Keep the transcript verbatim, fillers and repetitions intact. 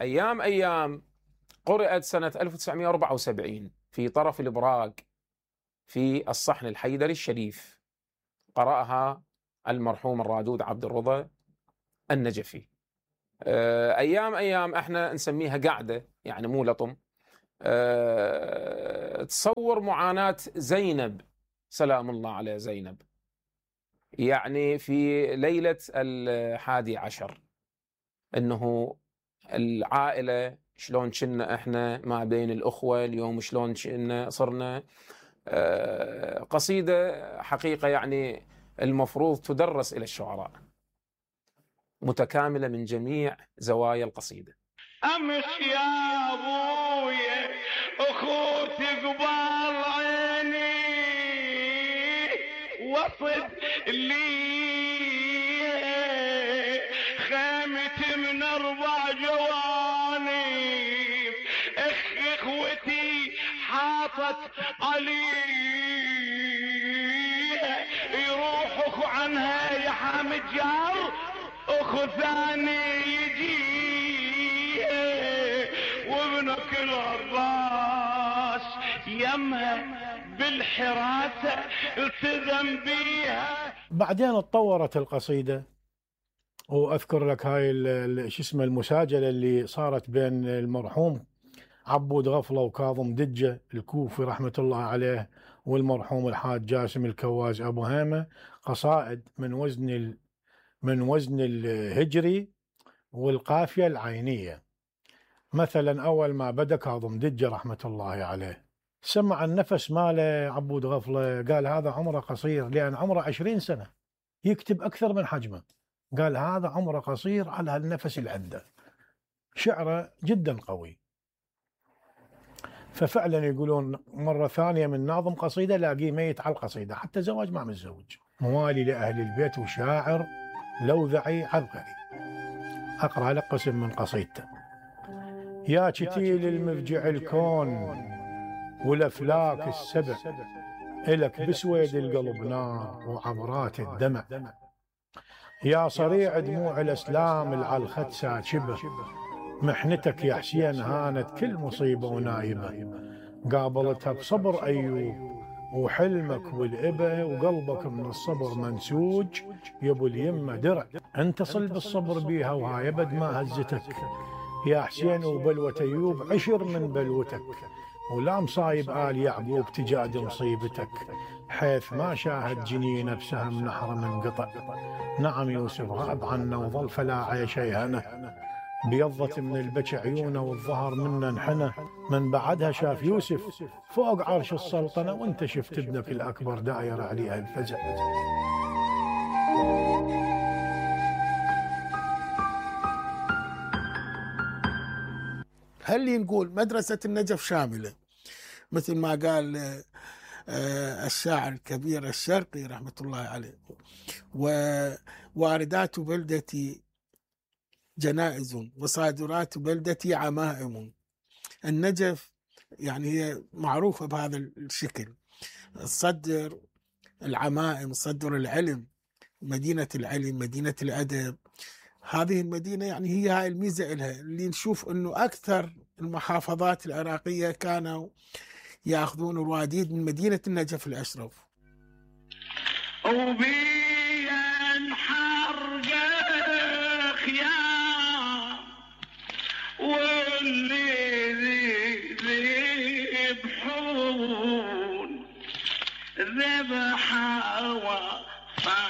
أيام أيام قرأت سنة ألف وتسعمئة وأربعة وسبعين في طرف البراق في الصحن الحيدري الشريف، قرأها المرحوم الرادود عبد الرضا النجفي. أيام أيام احنا نسميها قاعدة، يعني مو لطم. تصور معاناة زينب سلام الله على زينب، يعني في ليلة الحادي عشر، انه العائلة شلون كنا احنا ما بين الأخوة، اليوم شلون كنا صرنا. قصيدة حقيقة يعني المفروض تدرس إلى الشعراء، متكاملة من جميع زوايا القصيدة. أمس يا أبويا أخوتي قبال عيني وصد لي خيمتي من أربع جوانب، إخ إخوتي حاطت علي يروحوا عنها يا حامد جار أخو ثاني يجي وابنك العباس يمها بالحراسة التزم بيها. بعدين اتطورت القصيدة، واذكر لك هاي شو اسمه المساجلة اللي صارت بين المرحوم عبود غفلة وكاظم دجة الكوفي رحمة الله عليه والمرحوم الحاج جاسم الكواز ابو هيمة، قصائد من وزن ال... من وزن الهجري والقافية العينية. مثلا أول ما بدأ كاظم دجة رحمة الله عليه سمع النفس ماله عبود غفلة، قال هذا عمره قصير، لأن عمره عشرين سنة يكتب أكثر من حجمه، قال هذا عمره قصير على هالنفس اللي عنده، شعره جدا قوي. ففعلا يقولون مرة ثانية من ناظم قصيدة لاقيه ميت على القصيدة، حتى زواج ما متزوج. موالي لأهل البيت وشاعر لوذعي عبقري. أقرأ لك قسم من قصيدته. يا كتيل المفجع الكون والأفلاك السبع، إلك بسويد القلب نار وعبرات الدمع، يا صريع دموع الأسلام العالخد ساكبة، محنتك يا حسين هانت كل مصيبة ونايبة، قابلتها بصبر أيوب وحلمك والإبة، وقلبك من الصبر منسوج يا ابو اليمة درع، انت صل بالصبر بيها وهاي ابد ما هزتك، يا حسين وبلوة أيوب عشر من بلوتك، ولا مصايب آل يعقوب تجاد مصيبتك، حيث ما شاهد جنينه بسهم نحر منقطع. نعم يوسف غاب عنا وظل فلا عيش يهنه، بيضت من البكي عيونه والظهر منا انحنى، من بعدها شاف يوسف فوق عرش السلطنة، وانت شفت ابنك الأكبر داير عليها الفزع. هل نقول مدرسة النجف شاملة مثل ما قال الشاعر الكبير الشرقي رحمة الله عليه، وواردات بلدتي جنائز وصادرات بلدتي عمائم. النجف يعني هي معروفة بهذا الشكل، تصدر العمائم، تصدر العلم، مدينة العلم، مدينة الأدب. هذه المدينة يعني هي هاي الميزة إلها، اللي نشوف أنه أكثر المحافظات العراقية كانوا يأخذون الواديد من مدينة النجف الأشرف. وبين حرق خيام واللي ذبحون ذبحوا